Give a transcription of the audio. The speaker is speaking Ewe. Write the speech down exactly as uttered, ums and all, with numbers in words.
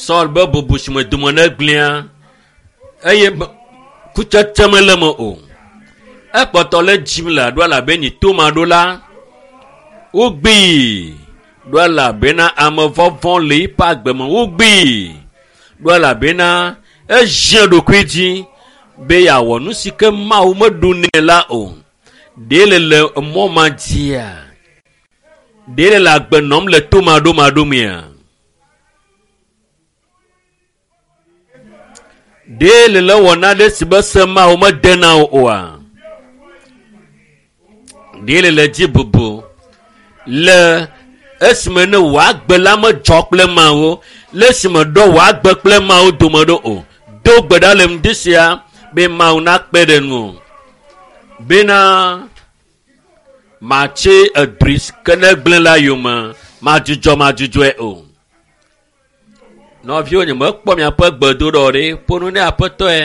Saul be bubu si me dome ne gblẽa eye be- kutsetse mele me o. Ekpɔtɔ le dzim le aɖo elabe nyi toma ɖo la wogbee ɖo elabena ame vɔvɔ̃ le eƒe agbe me wogbee ɖo elabena ezie ɖokui dzi be yeawɔ nu si ke Mawu meɖo nɛ la o. Ɖe le le mɔ ma dzia? Ɖe le le agbe nɔm le tomaɖomaɖo mea? Ɖe le le wɔ nane si be se Mawu mede na wo oa? Ɖe le le dzi bubu le esime ne wò agbe la medzɔ kple Mawu, le esime ɖɔ wò agbe kple Mawu dome ɖo o. Do gbe ɖa le ŋdi sia be Mawu nakpe ɖe ŋuwò bena matsi edri si ke ne gblẽ la yome madzudzɔ madzudzɔe o. Nɔviwo nye mekpɔ miaƒe gbedoɖɔ ɖe ƒo nu ne aƒetɔe.